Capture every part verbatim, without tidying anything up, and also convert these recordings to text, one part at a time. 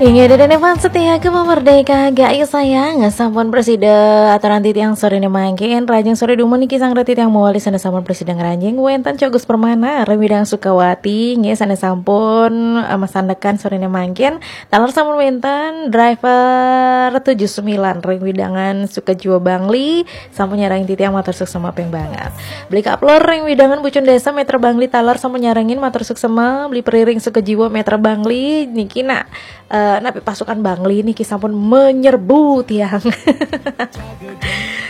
Inggih, Dede fans setia Gema Merdeka, gak ya sayang, sampun presida aturan titiang sore ne mangkin, rajang sore dumun niki sang titiang mawali sane sampun presida ngranjing, wenten Cok Gus Permana, ring widang Sukawati, nggih sane sampun eh, masandekan sore ne mangkin, taler sampun wenten driver tujuh sembilan ring widangan Sukajiwa Bangli, sampun nyarengin titiang matur suksma ping banget. Beli Kaplor ring widangan Bucun Desa Metra Bangli taler sampun nyarengin matur suksma, beli Periring Sukajiwa Metra Bangli, niki nak eh, napi pasukan Bangli niki sampun menyerbu tiang.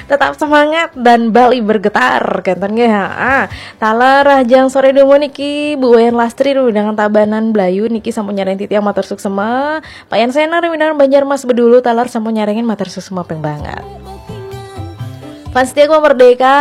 Tetap semangat dan Bali bergetar, kenten nggih. Ah, taler rajang sore dumun niki Bu Wayan Lastri ring widangan Tabanan Blayu niki sampun nyarengin titiang matur suksma. Pak Yan Sena ring widangan Banjarmas Bedulu taler sampun nyarengin matur suksma ping banget. Fans setia Gema Merdeka,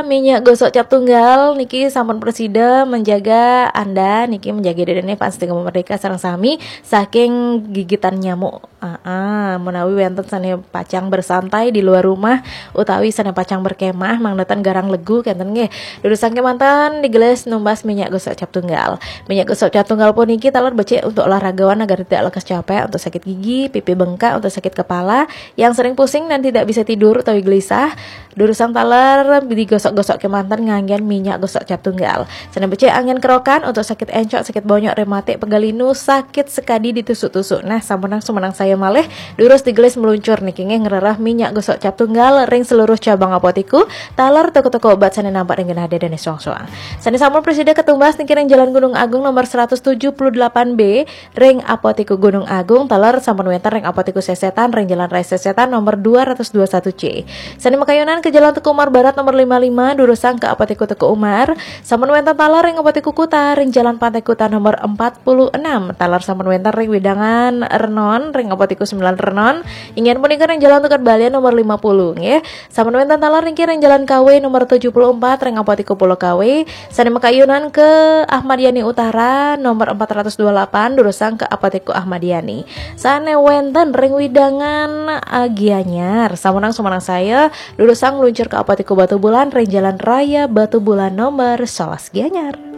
minyak gosok cap tunggal niki sampun presida menjaga Anda niki, menjaga dedene fans setia Gema Merdeka sareng sami saking gigitan nyamuk. Ah, ah, menawi wenten sane pacang bersantai di luar rumah utawi sane pacang berkemah, mangdatan garang legu kenten nggih. Durusang kemanten digelis numbas minyak gosok cap tunggal. Minyak gosok cap tunggal puniki taler becik untuk olahragawan agar tidak lekas capek, untuk sakit gigi, pipi bengkak, untuk sakit kepala, yang sering pusing dan tidak bisa tidur utawi gelisah, durusang taler digosok-gosok kemanten nganggen minyak gosok cap tunggal. Sane becik anggen kerokan untuk sakit encok, sakit bonyok, rematik, pegal linu, sakit sekadi ditusuk-tusuk. Nah, sampunang sumenang saya malih, durus digelis meluncur niki nggih ngrereh minyak gosok cap tunggal ring seluruh cabang apotiku, taler toko-toko obat sane nampak ring genah dedene soang-soang. Sane sampun presida ketumbas niki ring Jalan Gunung Agung nomor seratus tujuh puluh delapan B, ring Apotiku Gunung Agung, taler sampun wenten ring Apotiku Sesetan ring Jalan Raya Sesetan nomor dua ratus dua satu C. Sane makayunan ke Jalan Teuku Umar Barat nomor lima lima, durusang ke Apotiku Teuku Umar. Sampun wenten taler ring Apotiku Kuta ring Jalan Pantai Kuta nomor empat puluh enam. Taler sampun wenten ring widangan Renon ring Apotiku sembilan Renon. Inggih punika ring Jalan Tukad Balian nomor lima puluh nggih. Sampun wenten taler niki ring Jalan Kawe nomor tujuh puluh empat ring Apotiku Pulau Kawe. Sane makayunan ke Ahmad Yani Utara nomor empat ratus dua puluh delapan, durusang ke Apotiku Ahmad Yani. Sane wenten ring widangan eh, Gianyar. Sampunang sumenang saya, durusang meluncur ke Apotiku Batubulan ring Jalan Raya Batubulan nomor sebelas Gianyar.